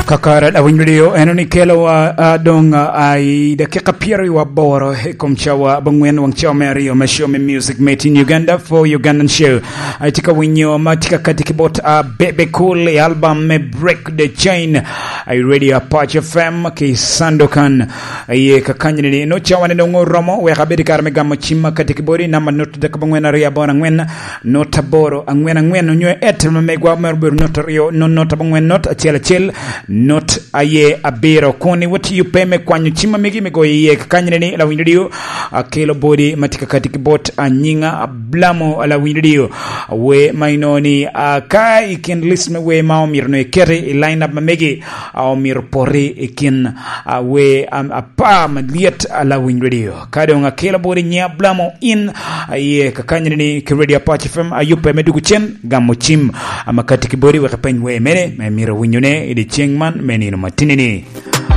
Kakare lawiny radio eno ni kelowa ah, dong ah, i dakika pyeraryo aboro i kom cawa abongwen wang cawa me aryo me show me music made in Uganda for Ugandan show. Ah, Itye ka winyo ma tye ka kati ki bot ah, Bebe Cool i album me Break the Chain i Radio Apac FM ki Sandokan Aye kakanyini ni nongo cawane dong oromo wek abed i kare me gamo cim ma kati ki boti. Namba not adek abongwen aryo aboro angwen not aboro angwen angwen onyo Airtel ma megwa mere obedo not aryo not not abongwen not acel acel not aye abiro. Kun iwatiyo pe me kwanyo cim ma megi me goyo iye kakanyini ni lawiny radio akelo boti ma tye ka kati ki bot anyinga Blamo lawiny radio wer ma inongo ni ka i kin list me wer ma omyero nongo iketi i line up ma megi. Omyero poti i kin wer apar malyet lawiny radio. Ka dong akelo boti nyi ablamo in aye kakanyini ni ki Radio Apac FM ayubbe me dugu cen gamo cim amakati ki boti wek ipeny wer mene ma imito winyone i dyeceng man me nino matini ni.